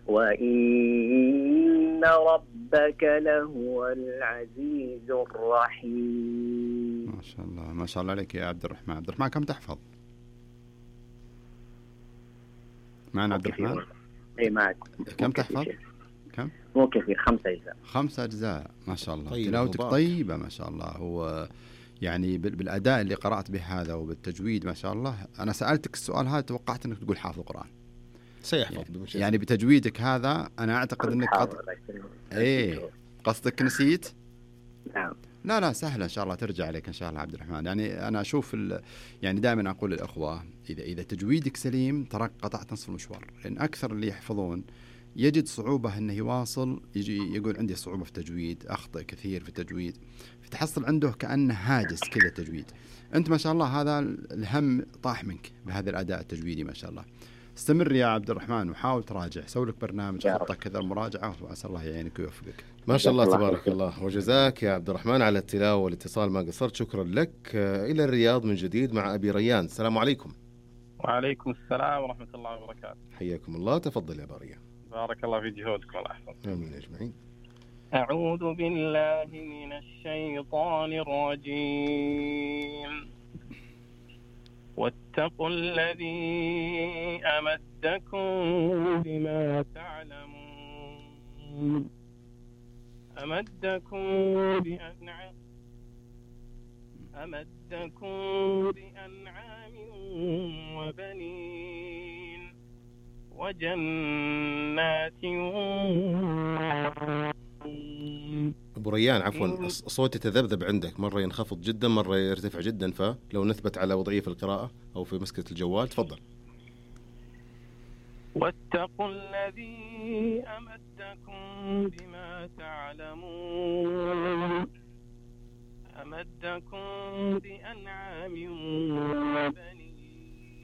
وإن ربك لهو العزيز الرحيم. ما شاء الله ما شاء الله عليك يا عبد الرحمن. عبد الرحمن كم تحفظ؟ معنا عبد الرحمن؟ اي معك. كم تحفظ؟ كم؟ مو كثير، 5 أجزاء. 5 أجزاء ما شاء الله. طيب تلاوتك طيبة ما شاء الله. هو يعني بالأداء اللي قرأت به هذا وبالتجويد ما شاء الله. أنا سألتك السؤال هذا توقعت أنك تقول حافظ القرآن. سيحفظ يعني بتجويدك هذا أنا أعتقد أنك قصدك نسيت؟ نعم. لا سهلة إن شاء الله ترجع عليك إن شاء الله عبد الرحمن. يعني أنا أشوف يعني دائما أقول للأخوة إذا تجويدك سليم ترى قطعت نصف المشوار. لأن أكثر اللي يحفظون يجد صعوبة أنه يواصل، يجي يقول عندي صعوبة في التجويد، أخطئ كثير في التجويد، فتحصل عنده كأنه هاجس كذا تجويد. أنت ما شاء الله هذا الهم طاح منك بهذا الأداء التجويدي ما شاء الله. استمر يا عبد الرحمن وحاول تراجع، سوي لك برنامج خطة كذا المراجعة وأسأل الله يعينك ويوفقك. ما شاء الله تبارك الله. وجزاك يا عبد الرحمن على التلاوة والاتصال ما قصرت. شكرا لك. إلى الرياض من جديد مع أبي ريان. السلام عليكم. وعليكم السلام ورحمة الله وبركاته. حياكم الله. تفضل يا أبا ريان. بارك الله في جهودكم الله يحفظك. آمين أجمعين. أعوذ بالله من الشيطان الرجيم. واتقوا الذي أمدكم بما تعلمون أمدكم بأنعام وبنين وجنات. أبو ريان عفوا صوتي تذبذب عندك، مرة ينخفض جدا مرة يرتفع جدا، فلو نثبت على وضعية في القراءة أو في مسكة الجوال تفضل. واتقوا الذي أمدكم بما تعلمون أمدكم بأنعام وبنين